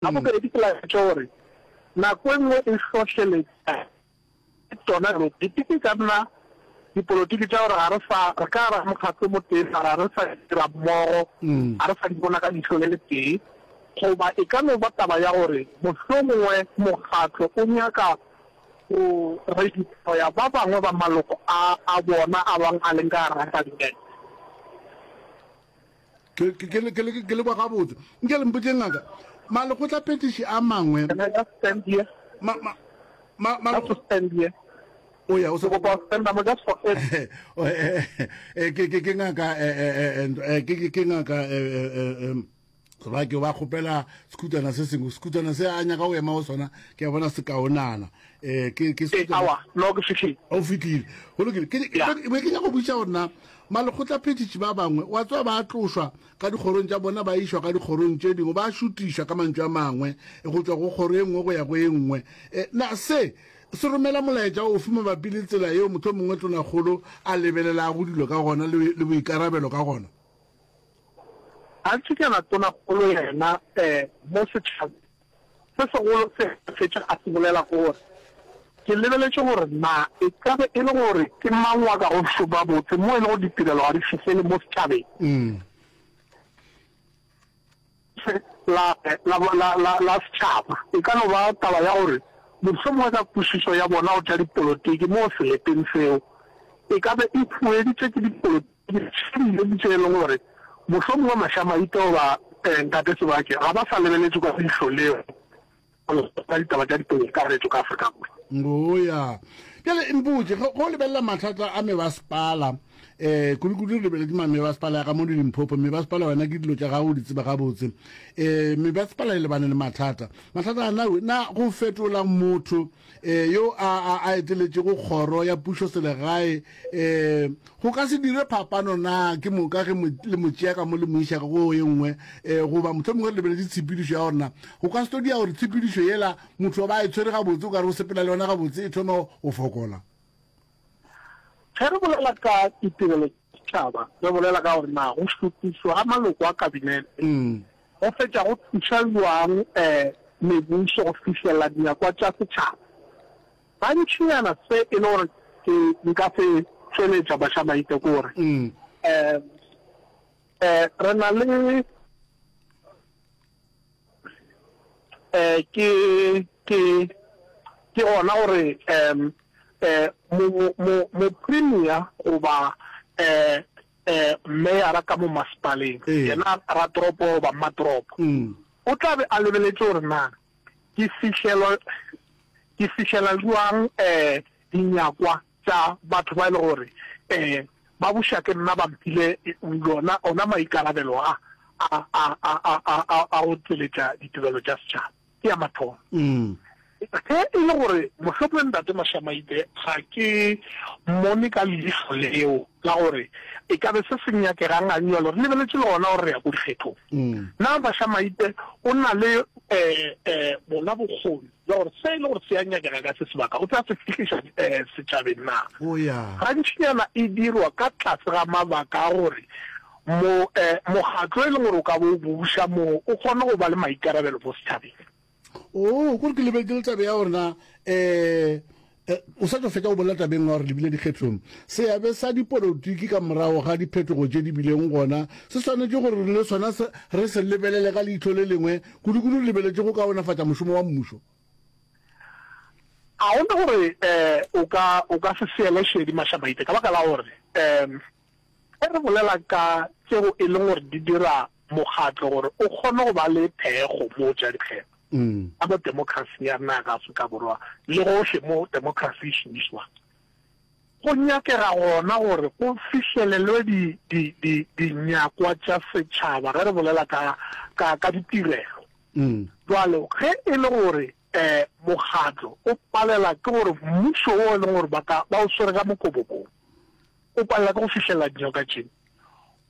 La bobedi, ke laetša gore nako e nngwe e hlohleletša ke tšona dipolotiki. E ka nna dipolotiki tša gore ga re sa, re ka gare ga mokgatlo o motee mara ga re sa dira mmogo, ga re sa di bona ka leihlo le letee. Goba e ka no ba taba ya gore mohlomongwe mokgatlo o nyaka go redeploya ba bangwe ba maloko a a bona a bang a leng ka gare ga kabinete. Ke, ke, ke, ke, ke, ke le kwa gabotse. Nke le mpotše ngaka, malekgotlaphethiši a mangwe. Can I just stand here? Ma, ma, ma, ma, Just to stand here. O ya, o se. Ke kopa go stand up just for it. Eh, ke, ke, ke ngaka, eh, eh, eh, eh, ke, ke, ke ngaka, eh, eh, eh, eh, ba ke ba kgopela sekhutana se sengwe sekhutana se a nyaka go ema go sona ke a bona se kaonana um ke ke eh, awa no ke fihlile o fihlile go lokile ke be ke nyaka go botšiša gore na malekgotlaphethiši ba bangwe wa tswa ba tlošwa ka dikgorong tša bona ba išwa ka dikgorong tše dingwe ba šutišwa ka mantšu a mangwe go tšwa go kgoro e nngwe go ya go e nngwe um na se se romela molaetša ofe mabapi le tsela yeo mohlomongwe mongwe tonakgolo a lebelelago dilo ka gona le boikarabelo ka gona Gantšinyana tonakgolo yena mo setšhabeng, se segolo se a fetša a se bolela ke gore, Ke lebeletše gore na e ka be e le gore ke mang wa ka go šoma botse mo e lego ditirelo ga di fihlele mo setšhabeng la, la, la, la, la setšhaba. E ka no ba taba ya gore mohlomongwe ka kwešišo ya bona go tša dipolotiki mo seleteng seo e ka be e hueditšwe ke dipolotiki. Ke dijo tše e leng gore mohlomongwe Mašamaite goba Ntate Sebake ga ba sa lebeletše ka leihlo leo ka ditaba tša dipekakaretšo ka Afrika Borwa. Ngoya. Bjale mpotše, ge o lebelela mathata a mebasepala, um kudu-kudu re lebeletše mebasepala ya ka mo Limpopo, mebasepala wena ke dilo tša gago o di tseba gabotse. Um mebasepala e lebane le mathata. Mathata a na, na go fetola motho um yo a, a, a eteletšego kgoro ya pušoselegae um go ka se dire phapano na ke moka ge le mo tšea ka mo le mo iša ka go ye nngwe um goba mohlomongwe re lebeletše tshepedišo ya gorena go ka se tlo dia gore tshepedišo yela motho ba e tshwere gabotse o ka re o sepela le yona gabotse e thoma go fokola. Ge re bolela ka ditirelo tša setšhaba re bolela ka gore na go šutišwa ga maloko a kabinete go fetša go thuša bjang mebušo go fihlelela dinyakwa tša setšhaba. Gantšinyana se e le gore ke nka se tšweletša Bašamaite ke gore re na le ke ke ke gona gore mo mo mo premier goba meyara ka mo masepaleng yena ratoropo goba mmatoropo o tla be a lebeletše gore na Ke fihlelwa, ke fihlela bjang dinyakwa tša batho ba e le gore ba buša ke nna, ba mphile yona, ona maikarabelo a, a, a, a, a, a, a, a go tšweletša ditirelo tša setšhaba. Ke ya mathomo. Ge e le gore mohlomongwe Ntate Mashamaite ga ke mmone ka leihlo leo la gore e ka be se se nyakegang gannyalo, re lebeletše le gona gore re ya ko dikgethong. Na Mashamaite o na le bona bokgoni bja gore se e le gore se a nyakega ka se sebaka o tla se fihliša setšhabeng na? Gantšinyana e dirwa ka tlase ga mabaka a gore mokgatlo e leng gore o ka bo o buša moo o kgone go ba le maikarabelo mo setšhabeng. Oo, kore ke lebetše le tabe ya gore na um o sa tšo fetša go bolela tabeng ya gore lebile dikgethong. Seabe sa dipolotiki ka morago ga diphetogo tše di bileng gona se swanetše gore le sona re se lebelele ka leihlo le lengwe, kudukudu re lebeletše go kaonafatša mošomo wa mmušo. Ga go na gore o ka o ka se seele šedi Mašamaite ka baka la gore um ge re bolela ka tšeo e leng gore di dira mokgatlo gore o kgone go ba le thekgo mo tša dikgetho ka mo demokrasing ya rena ya ka Afrika Borwa le gohle mo demokrasi e šomišwang. Go nyakega gona gore go fihlelelwe di, di, di, dinyakwa tša setšhaba ge re bolela ka, ka, ka ditirelo. Bjalo ge e le gore um mokgatlo o palela ke gore mmušo wo e leng gore ba ka, ba o swere ka mokobokong o palela ke go fihlelela dinyoka tše,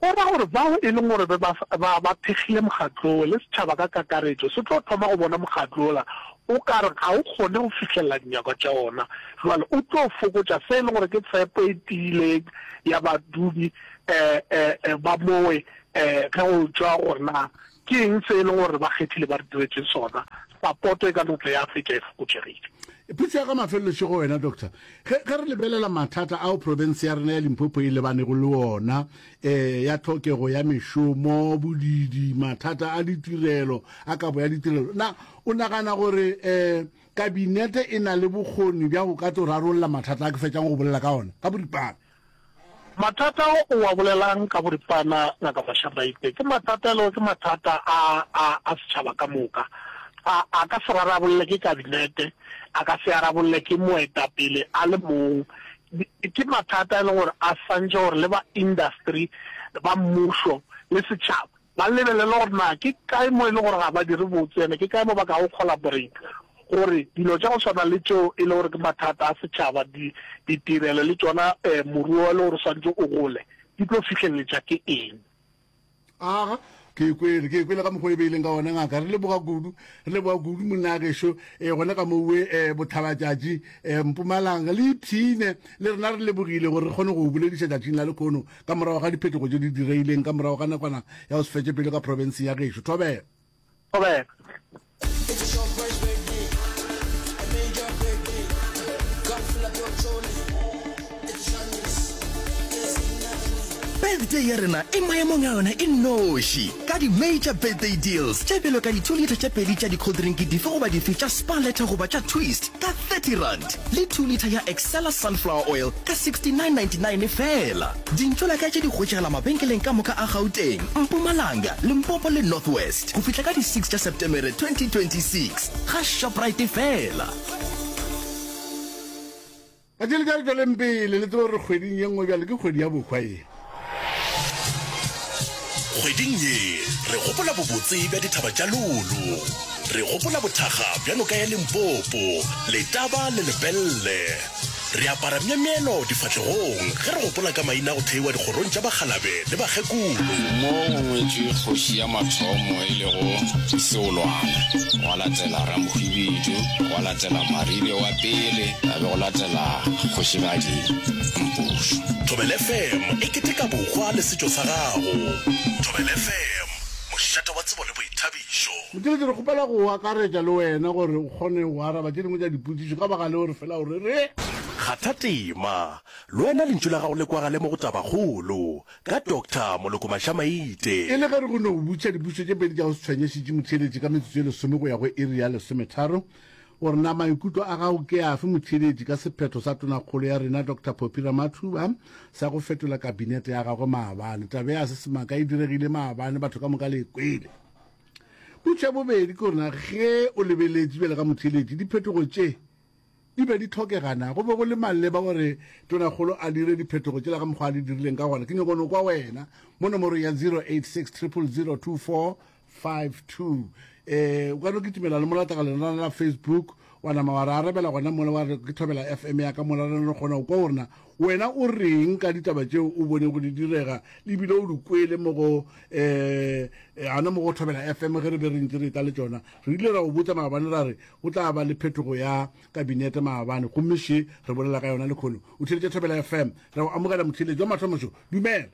Go ra gore bao e leng gore be ba, ba, ba thekgile mokgatlo wo, le setšhaba ka kakaretšo, se tlo thoma go bona mokgatlo wola o ka re ga o kgone go fihlelela dinyakwa tša ona. Bjale o tlo fokotša se e leng gore ke tshepo e tiileng ya badudi ba mowe ge go tšwa gore na. Ke eng se e leng gore ba kgethile ba re diretše sona? Sapoto e ka no tla ya fetša e fokotšegile. Potšo ya ka mafelelo še go wena, Doctor. Ge, ge re lebelela mathata ao profense ya rena ya Limpopo e lebanego le ona, eh, ya tlhokego ya mešomo, bodiidi, mathata a ditirelo, a kabo ya ditirelo, na o nagana gore eh, Kabinete e na le bokgoni bja go ka tlo rarolla mathata a ke fetšang go bolela ka ona ka boripana? Mathata ao o a bolelang ka boripana, Ngaka Mashamaite, ke mathata e lego ke mathata a, a, a setšhaba ka moka. A, a ka se rarabolle ke Kabinete, a ka se arabolle ke moetapele a le mong. Ke mathata e leng gore a swantše gore le ba industry, ba mmušo le setšhaba ba lebelele gore na ke kae mo e le gore ga ba dire botse ene ke kae mo ba kago collaborate gore dilo tša go swana le tšeo e le gore ke mathata a setšhaba, di, ditirelo le tšona um moruo e le gore o swanetše o gole, di tlo fihleletša ke eng. Aga, ke e kwele, ke e kwele ka mokgwa o e beileng ka gona, ngaka. Re leboga kudu, re leboga kudu monna gešo, e, gona ka mowe e, Botlhabatšatši, e, Mpumalanga. Le ipshine, le rena re lebogile gore re kgone go o bolediša tšatšing la lekhono ka morago ga diphetogo tše di direileng ka morago ga nakwana ya go se fetše pelo ka profenseng ya gešo. Thobela. Thobela. Birthday ya rena e maemong a yona e nnoši ka di-major birthday deals tše bjalo ka di-2 litre tše pedi tša di-cold drink dife goba dife tša Spar Letter goba tša Twist ka R30 le 2 litre ya Excella sunflower oil ka R69.99 feela. Dintšolaka tše di hwetšagala mabenkeleng ka moka a Gauteng, Mpumalanga, Limpopo le North West go fihla ka di 6 tša Setemere 2026 ga Shoprite feela. Batšweletši a re tšweleng pele, le tsebe gore kgweding ye nngwe bjale ke kgwedi ya bohwa ye. Kgweding ye re gopola bobotse bja dithaba tša Lolo. Re gopola bothakga bja noka ya Limpopo, Letaba le Lepelle. Re apara myemyelo difahlegong ge re gopola ka maina a go theiwa dikgorong tša bakgalabe le bakgekolo. Mo go ngwetšwe kgoši ya mathomo e lego Seolwana, gwa latela Ramohwibidu, gwa latela Maribe wa pele, ga be go latela Kgošigadi Mpošo. Thobela FM e keteka bohwa le setšo sa gago. Thobela FM, mošate wa tsebo le boithabišo. Motšweletši, re kgopela go akaretša le wena gore o kgone go araba tše dingwe tša dipotšišo ka baka leo re fela o re re. Kgatha tema, le wena lentšu la gago le kwagale mo go Tabakgolo ka Doctor Moloko Mashamaite. E le ge re go no botšiša dipotšišo tše pedi tša go se tshwenyešitše motheeletši ka metsotso ye lesome go ya go iri ya lesometharo, gore na maikutlo a gago ke afe motheeletši ka sephetho sa Tonakgolo ya rena Doctor Phophi Ramathuba sa go fetola kabinete ya gagwe maabane. Taba ya se semaka e diregile maabane, batho ka moka le e kwele. Potšo ya bobedi ke gore na ge o lebeletše bjale ka motheeletši diphetogo tše di be di tlhokega na? Go be go le maleba gore Tonakgolo a dire diphetogo tšela ka mokgwa a di dirileng ka gona? Ke nyako no kwa wena mo nomorong ya 086 000 2452. Eh, o ka no kitimela le molataka lenana la Facebook wa nama wa re arabela gona mola wa re ke thobela FM ya ka mola re no kgona go kwa gore na wena o reng ka ditaba tšeo o bonego di direga le bile o di kwele mo go eh gona mo go thobela FM ge re be re ntse re etla le tšona. Re ile ra go botša maabane ra re go tla ba le phetogo ya kabinete maabane gomme še re bolela ka yona lekhono. O theeletše Thobela FM, re go amogela motheeletši wa mathomo šo. Dumela.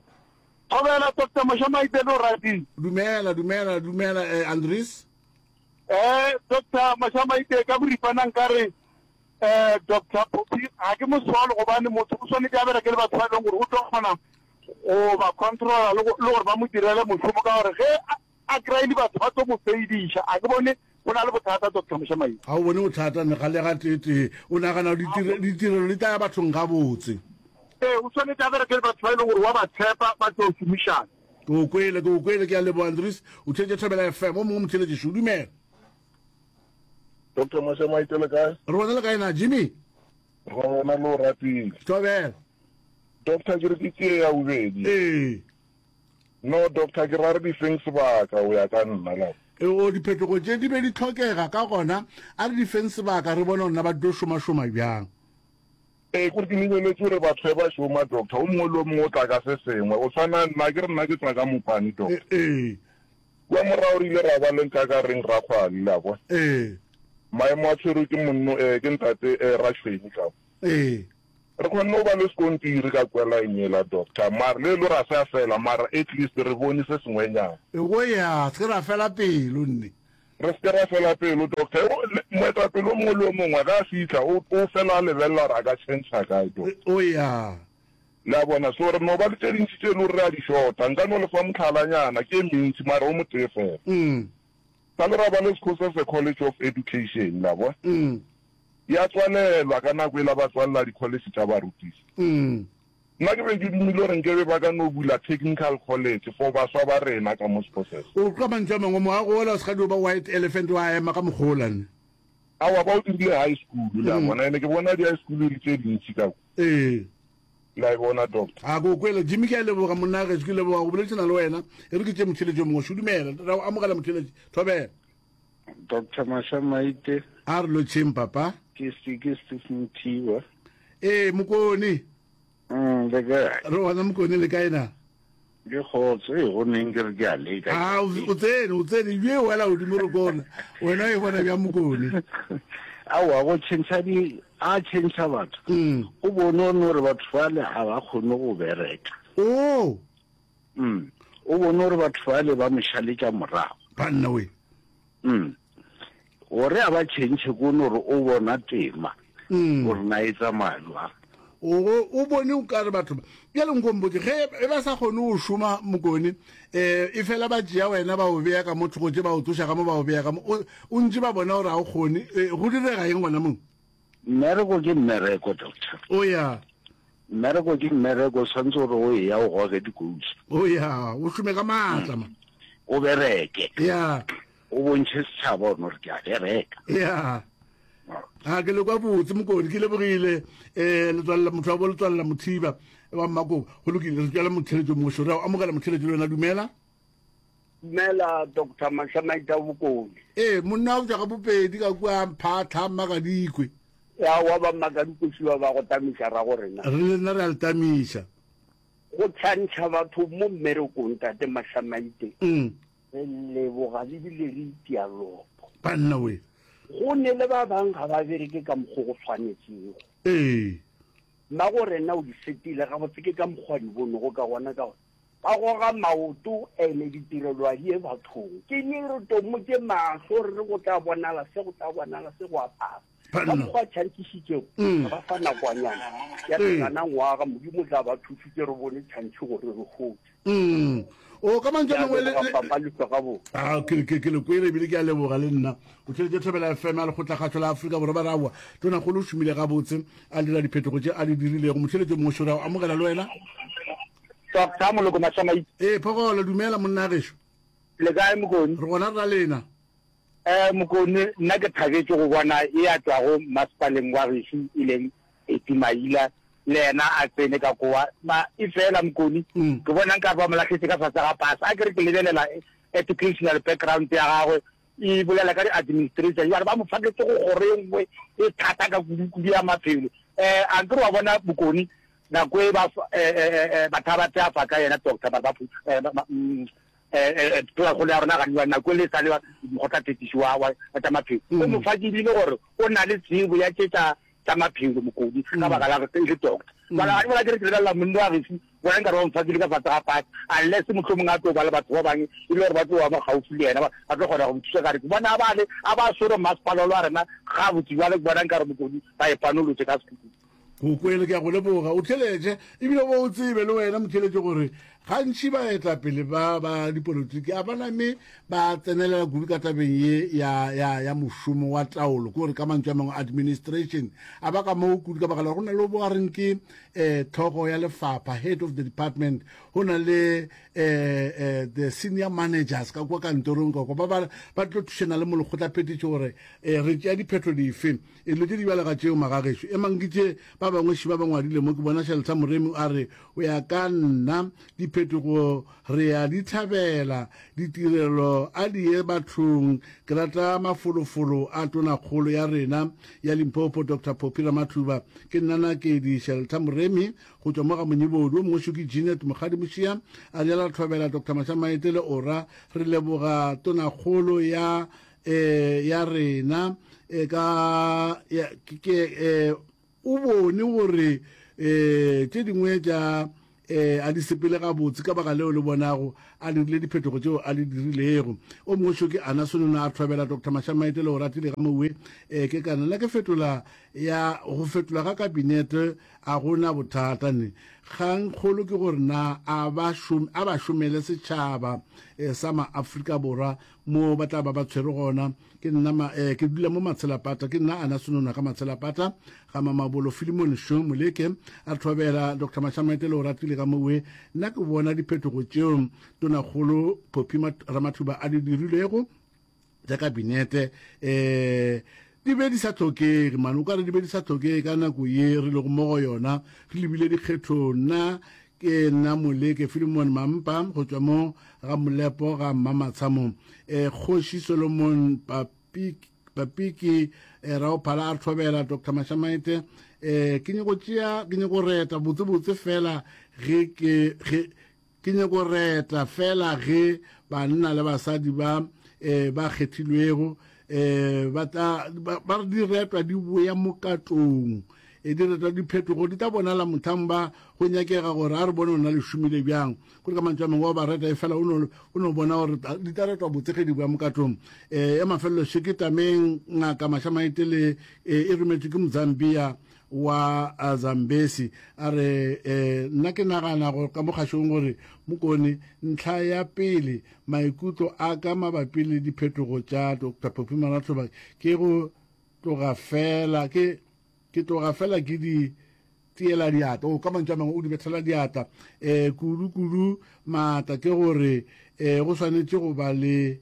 Thobela Doctor Mashamaite le o ratile. Dumela, dumela, dumela eh, Andries. Eh, Doctor Mashamaite ka boripana nkare eh Doctor Phophi ga ke mosolo gobane motho o swanetše a bereke le batho ba e leng gore o tlo kgona go ba controla le gore ba mo direle mošomo ka gore ge a kry-ile batho ba tlo mo feidiša. A ke bone go na le bothata Doctor Mošamaile. Ga o bone bothata ne ga le ga tee-tee. O nagana gore ditirelo di tla ya bathong gabotse? Ee, o swanetše a bereke le batho ba e leng gore wa ba tshepa, ba tlo šomišana. Ke o kwele, ke o kwele, ke a leboga Andries. O theetše Thobela FM. O mongwe motheeletši šo, dumela. Doctor Mošamaite le kae? Re gona le kae na Jimmy? Re gona le o ratile. Thobela. Doctor ke re ke tšee ya bobedi. Ee. No doctor ke ra re di feng sebaka o ya ka nna la. O diphetogo tše di be di tlhokega ka gona a re di feng sebaka re bone gore na ba tlo šomašoma bjang. Ee kore ke lebeletše gore batho ge ba šoma doctor o mongwe le o mongwe o tla ka se sengwe o tshwana nna ke re nna ke tšwa ka mopane doctor. Ee. Kua morago re ile ra ba le Nkakareng Rakgwale le a kwa. Ee. Maemo a tshwerwe ke monno eh ke ntate eh Ratšhweni ka. Ee. Re kgonne go ba le sekontiri ka kua line yela, Doctor, mara le lo ra se a fela, mara at least re bone se sengwenyana. Go ya, se ke ra fela pelo, nne. Re se ke ra fela pelo, Doctor. O, le, moetapele o mongwe le o mongwe, ge a fihla, o, o fela a lebelela gore a ka tšhentšha kae, Doctor. O ya. Le a bona? So re no ba le tše dintši tše e le gore re a di shota. Nka no le fa mohlalanyana, ke e mentši, mara o motee fela. Sa le ra ba le Sekgosese College of Education, le a bona? Ya tswalelwa ka nako yela ba tswalela dikholetšhe tša barutiši. Nna ke be ke dumile gore nkebe ba ka no bula technical college for baswa ba rena ka mo Sekgosese. O ka mantšu a mangwe, moago wola o se ka dio ba white elephant wa ema ka mokgwa wola ne? Aowa, ba o dirile high school, le a bona. Ene ke bona di-high school e le tše dintši ka kwa. Ee. Le a e bona, Doctor? A ke o kwele. Jimmy, ke a leboga, monna gešo, ke leboga go boledišana le wena. E re ke tšee motheeletši yo mongwe. Šudumela, ra o amogela motheeletši. Thobela. Doctor Mashamaite. A re lotšheng papa. Ke ke Steve Mothiba. Ee, Mokone. Le kae? Re gona Mokone, le kae na? Ke kgotso, ee go neng ke re ke a leka. A o tsene, o tsene, ebile o wela godimo re kona. Wena o e bona bjang Mokone? Aowa, go tšhentšha di, a tšhentšha batho. O bone o no re batho bale ga ba kgone go bereka. Oh. Mm. O bone gore batho bale ba mo šaletša morago. Banna we. Mm. Gore a ba tšhentšhe ko no gore o bona tema. Mm. Gore na e tsamaya jwang. O o bone o ka re batho ba. Bjale nko mpotše ge e ba sa kgone go šoma Mokone eh e fela ba tšea wena ba o bea ka mo thoko tše ba o tloša ka mo ba o bea ka mo o ntše ba bona gore ga o kgone go direga eng gona moo? Mmereko ke mmereko, doctor. O ya. Mmereko ke mmereko, o tshwanetse gore o eya o goge dikousu. O ya, o šome ka maatla ma. O bereke. Ya. O bontšhe setšhaba gore ke a bereka. Ya. A ke le kwa botse Mokone, ke lebogile eh letswalela motho wa bo letswalela Mothiba wa Mmakobo. Go lokile, re tšwela motheletšo mongwe šore. Amogela motheletšo le wena, dumela. Dumela Doctor Mashamaita Bokone. Ee, monna o tšwa ga Bopedi ka kua Mphatlha, Mmakadikwe. Ya wa ba Mmakadikwe šiwa ba go tamiša ra go rena. Re le nna re a le tamiša. Go tšhantšha batho mo mmerekong tate Mashamaite. Mm. Re leboga le bile re itia lopo. Banna we. Go ne le ba bang ga ba bereke ka mokgo go tshwanetšego. Ee. Mmago rena o di setile gabotse ke ka mokgwa di bonego ka gona ka gore Ba goga maoto ene ditirelo a di ye bathong. Ke neng re tomotše mahlo re re go tla bonala se, go tla bonala se, go a pasa. Ka mokgwa a tšhantšišitšego, re ba fa nakwanyana ya lekana ngwaga, Modimo o tla ba thušitše re bone tšhantšhi gore re hotše. Mm. O ka mantšu a mangwe le papa le tloga bo. Ah ke ke ke le kwele ebile ke a leboga le nna. O tšweletše Thobela FM ya Lekgotlakgašo la Afrika Borwa ba re aowa Tonakgolo o šomile gabotse a dira diphetogo tše a di dirilego. Motheeletši o mongwe šore a o amogela le wena. Doctor Moloko Mashamaite. Ee, Phogolo, dumela monna gešo. Le kae Mokone? Re gona rra lena. Eh Mokone, nna ke thabetše go bona e a tšwago masepaleng wa gešo e leng Eti Maila le yena a tsene ka kowa. Ma e fela Mokone, mm. ke bona nka ba mo lahletše ka fase ga pasa. A ke re ke lebelela educational background ya gagwe e bolela ka di-administration jale ba mo faketse go kgoro e nngwe e thata ka kudu-kudu ya maphelo um a nkere wa bona bokone Nako e ba batho ba tsea fa ka yena doctor ba ba mm, tonakgolo ya rona ganiwa nako e le sa le mokgotla-phetiši wa wa tša maphelo o mm. mo fakile gore o na le tsebo ya tše tša tša maphelo mokodi ka mm. baka la e le doctor mm. bala ga ke re ke lebelela monna wa gešo bona nkare ba mo fakile ka fase ga fase unless mohlomong a tlo ba le batho ba bangwe e le gore ba tlo ba mo gaufi le yena ba tlo kgona go mo thusa kare ke bona ba le a ba swere masepala wa rena gabotse jale ke bona nkare mokodi ba e panolotse ka sekuku Go kwele, ke a go leboga. O theletše, ebile o bo o tsebe le wena motheletše gore gantši baetapele ba ba dipolotiki a ba name ba tsenelela kudu ka tabeng ye ya, ya, ya mošomo wa taolo, ke gore ka mantšu a mangwe administration. A ba ka moo kudu ka baka la gore go na le bo a reng ke um tlhogo ya lefapha, head of the department, go na le um um the senior managers ka kwa kantorong ka kwa ba ba ba tlo thušana le molekgotlaphethiši gore um re tšea diphetho dife. Dilo tše di bjalo ka tšeo, magagešo, emang ke tše ba bangwe šiba ba ngwadile mo. Ke bona Shelter Moremi a re, Go ya ka nna, diphetogo re a di thabela, ditirelo a di ye bathong. Ke rata mafolofolo a Tonakgolo ya rena ya Limpopo, Doctor Phophi Ramathuba. Ke nna Nakedi Shelter Moremi go tšwa mo ga Monyebodi. Wo mongwe šo ke Jeanette Mokgadi Mošia a rialo, Thobela Doctor Mashamaite le Ora, re leboga Tonakgolo ya eh, ya rena e ka ya, ke, eh, o bone gore um tše dingwe tša um a di sepele gabotse ka baka leo le bonago a dirile diphetogo tšeo a di dirilego. O mongwe šo ke Ana Sonono a thobela Doctor Mashamaite le Oratile ga Mowe um ke kana nna ke fetola ya go fetola ga kabinete a gona bothata ne kgang kgolo ke gore na a ba a ba šomele setšhaba eh, sa maafrika Borwa mo ba tla ba ba tshwere gona. Ke nna ma, eh, ke dula mo Matshelapata, ke nna Ana Senona ga Matshelapata, ga Mamabolo Filimon Sho Moleke, a thobela Dr. Mashamaite le Oratile ka mowe. Nna ke bona diphetogo tšeo Tonakgolo Phophi Ramathuba a di dirilego tša kabinete eh di be di sa hlokege mane o ka re di be di sa hlokege ka nako ye re lego mo go yona re lebile dikgethong nna Ke nna Moleke Philemon Mampa go tšwa mo ga Molepo ga Mmamatshamo. E, Kgoši Solomon Papiki, Papiki e, Raophala a thobela Dr. Mashamaite. E, ke nyako tšea, ke nyako reta botsebotse fela ge ke ge ke nyako reta fela ge banna le basadi ba e, ba kgethilwego e, ba tla ba, ba re di retwa di boya mokatong E diretwa diphetogo di tla bonala mohlang ba go nyakega gore a re bone ona le šomile bjang. Kore ka mantšu a mangwe wa ba reta efela o no o no bona gore di tla retwa botse ge di boya mokatong. E ya mafelelo še ke tameng ngaka Mashamaite le e, e rometšwe ke Mozambia wa Zambesi a re e, nna ke nagana go ka mo kgašong gore Mokone ntlha ya pele maikutlo a ka mabapi le diphetogo tša Dr. Phophi Marathoba ke go tloga fela ke Ke tloga fela ke di tiela diatla. O, ka mantšu a mangwe, o di bethela diatla. E, kudu, kudu maatla ke gore e, go swanetše go ba le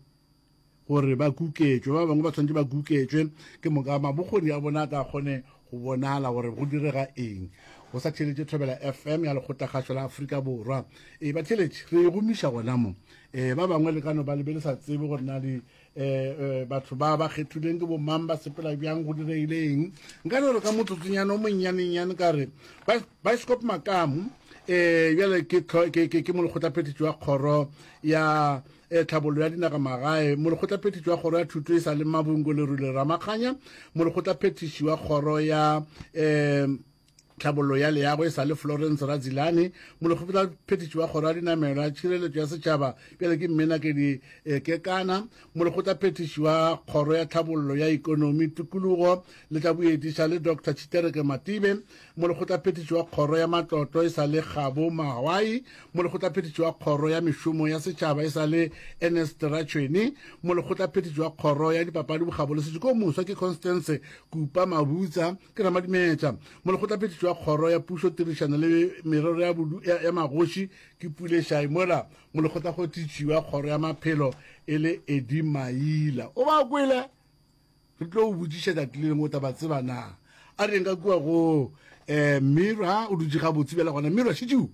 gore ba kuketšwe. Ba bangwe ba swanetše ba kuketšwe, ke moka mabokgoni a bona a tla kgone go bonala gore go direga eng. Go sa theeletše Thobela FM ya Lekgotlakgašo la Afrika Borwa. E, batheeletši, re e gomiša gona mo. E, ba bangwe le ka no ba le be le sa tsebe gore na di eh, batho ba ba kgethilweng ke bomang ba sepela bjang go diregile eng nka no re ka motsotsonyana o monnyanennyane ka re bioscope makamu um bjale ke ke molekgotlaphethiši wa kgoro ya eh, tlhabollo ya dinaga magae molekgotlaphethiši wa kgoro ya thuto e sa le mabungo lerule ramakganya molekgotlaphethiši wa kgoro ya um Tlhabollo ya Leago e sa le Florence Radzilane, Molekgotlaphethiši wa Kgoro ya Dinamelwa, Tšhireletšo ya Setšhaba bjale ke Mmenakedi eh, Kekana, Molekgotlaphethiši wa Kgoro ya Tlhabollo ya Ikonomi, Tikologo le tša Boeti sa le Dr Tshitereke Matibe, Molekgotlaphethiši wa Kgoro ya Matlotlo e sa le Kgabo Mahwai, Molekgotlaphethiši wa Kgoro ya Mešomo ya Setšhaba e sa le Ernest Ratšhweni, Molekgotlaphethiši wa Kgoro ya Dipapadi, Bokgabo le Setšo ko moswa ke Constance Kupa Mabutsa, Ke Ramadimetša. Molekgotlaphethiši wa Kgoro ya Pušo, Tirišano le Merero ya, ya, ya Magoši ke Pule Shai, mola molekgotlakgothiši wa Kgoro ya Maphelo e le Eddie Maila. O ba kwele? Re tlo o botšiša tšatši le lengwe o tla ba tseba na. A reng ka kua go eh, Mira o dutše gabotse bjale gona. Mira, šetšeo.